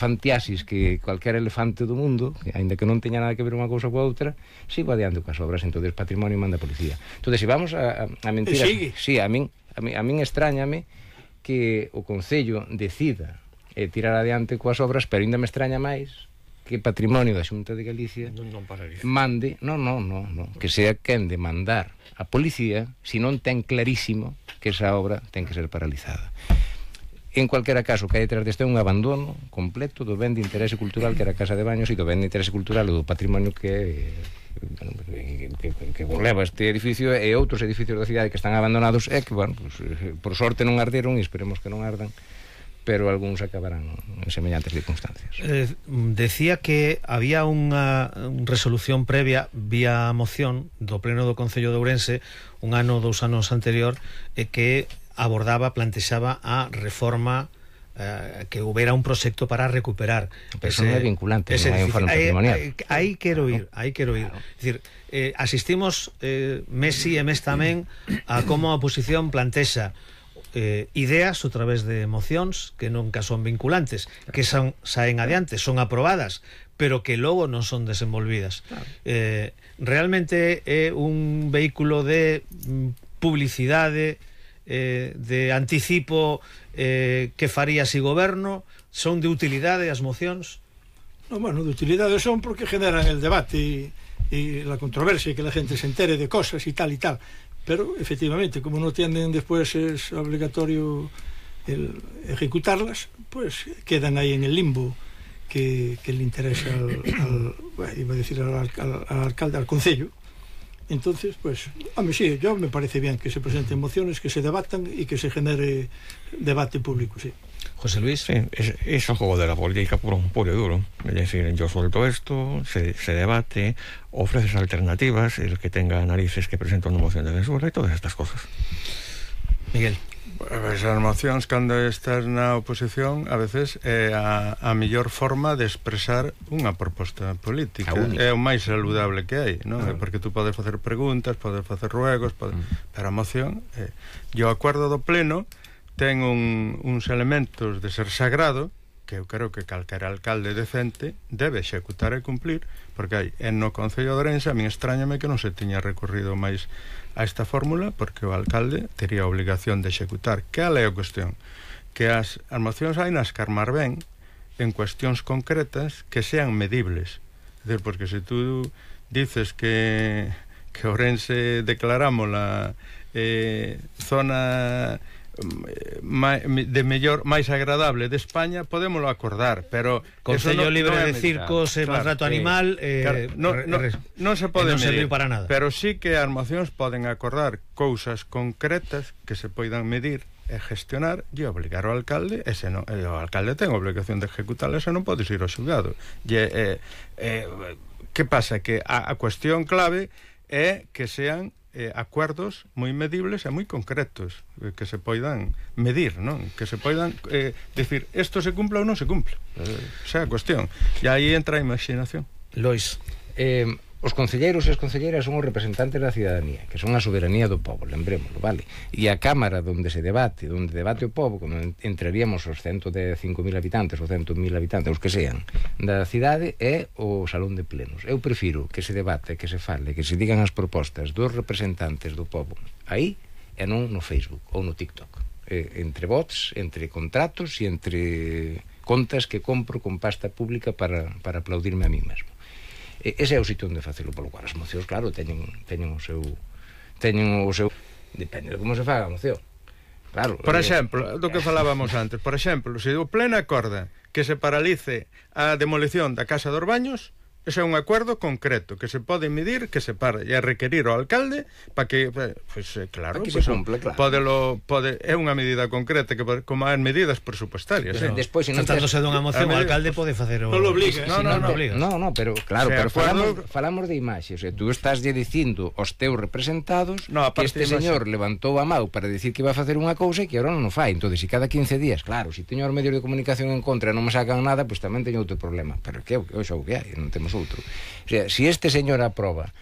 fantiasis que cualquier elefante do mundo, que, ainda que non teña nada que ver unha cousa coa outra, sigo adiante coas obras, entonces patrimonio manda a policía. Entonces, se vamos a mentira, sí, a min extrañame que o Concello decida tirar adiante coas obras, pero ainda me extraña máis que Patrimonio da Xunta de Galicia mande, que sea quen de mandar a policía se non ten clarísimo que esa obra ten que ser paralizada. En cualquera caso, que hai detrás deste un abandono completo do ben de interese cultural que era a Casa de Baños e do ben de interese cultural do patrimonio que leva este edificio e outros edificios da cidade que están abandonados e que, bueno, pues, por sorte non arderon e esperemos que non ardan, pero algúns acabarán en semellantes circunstancias. Decía que había unha resolución previa vía moción do Pleno do Concello de Ourense un ano, 2 anos anterior, que abordaba, plantexaba a reforma, que houbera un proxecto para recuperar. Pero eso non é vinculante, non hai un foro patrimonial. Aí quero ir. Claro. É dicir, asistimos mes sí e mes tamén a como a oposición plantexa ideas a través de mocións que nunca son vinculantes, que saen adiante, son aprobadas, pero que logo non son desenvolvidas. Realmente é un vehículo de publicidade, de anticipo que faría si goberno, son de utilidade as mocións? No, bueno, de utilidade son porque generan el debate y la controversia y que la gente se entere de cosas y tal, pero efectivamente, como no tienen después es obligatorio ejecutarlas, pues quedan ahí en el limbo que le interesa iba a decir al alcalde, al concello. Entonces, pues, a mí sí, yo me parece bien que se presenten mociones, que se debatan y que se genere debate público, sí. José Luis. Sí, es el juego de la política puro y duro. Es decir, yo suelto esto, se debate, ofreces alternativas, el que tenga narices que presenta una moción de censura y todas estas cosas. Miguel. As mocións, cando estás na oposición, a veces é a mellor forma de expresar unha proposta política. É o máis saludable que hai, non? Porque tú podes facer preguntas, podes facer ruegos, pero a moción e o acordo do pleno ten uns elementos de ser sagrado que eu creo que calquera alcalde decente debe executar e cumplir, porque hai no Concello de Ourense, a min extrañame que non se tiña recorrido máis a esta fórmula, porque o alcalde tería a obligación de executar. Cal é a cuestión? Que as mocións hai nas que armar ben en cuestións concretas que sean medibles. É dicir, porque se tú dices que Ourense declarámola zona de mellor, máis agradable de España, podémoslo acordar, pero Concello libre de circos e maltrato animal non se pode medir para nada. Pero sí que as mocións poden acordar cousas concretas que se poidan medir e gestionar e obligar ao alcalde, e o alcalde ten a obligación de ejecutarlas e non podes ir ao xulgado. Que pasa? Que a cuestión clave é que sean acuerdos moi medibles e moi concretos, que se poidan medir, non? Que se poidan decir, isto se cumple ou non se cumple. Esa é a cuestión. E aí entra a imaginación. Lois. Os concelleiros e as concelleiras son os representantes da cidadanía, que son a soberanía do povo, lembrémoslo, vale? E a Cámara onde debate o povo, como entraríamos os 105.000 habitantes, ou 100.000 habitantes, os que sean, da cidade, é o salón de plenos. Eu prefiro que se debate, que se fale, que se digan as propostas dos representantes do povo aí, e non no Facebook ou no TikTok. Entre bots, entre contratos e entre contas que compro con pasta pública para aplaudirme a mí mesmo. Ese é o sitio onde facelo, polo cual as mocións, claro, teñen o seu depende de como se faga a moción, claro. Por exemplo, do que falábamos antes, por exemplo, se o pleno acorda que se paralice a demolición da Casa dos Baños, ese é un acordo concreto que se pode medir, que se para e requerir ao alcalde para que, claro, que se cumple, claro. É unha medida concreta que como as medidas presupuestarias. Pero despois, se non tratándose dunha moción, o alcalde pode facer o... Non lo obliga. No, pero claro, pero falamos de imaxes. Tú estás dicindo aos teus representados que este señor levantou a mão para decir que iba a facer unha cousa e que agora non o fai. Entón, se cada 15 días, claro, se teño os medios de comunicación en contra e non me sacan nada, pois tamén teño outro problema. Pero que é o que hai, non temos outro. O sea, se este señor aproba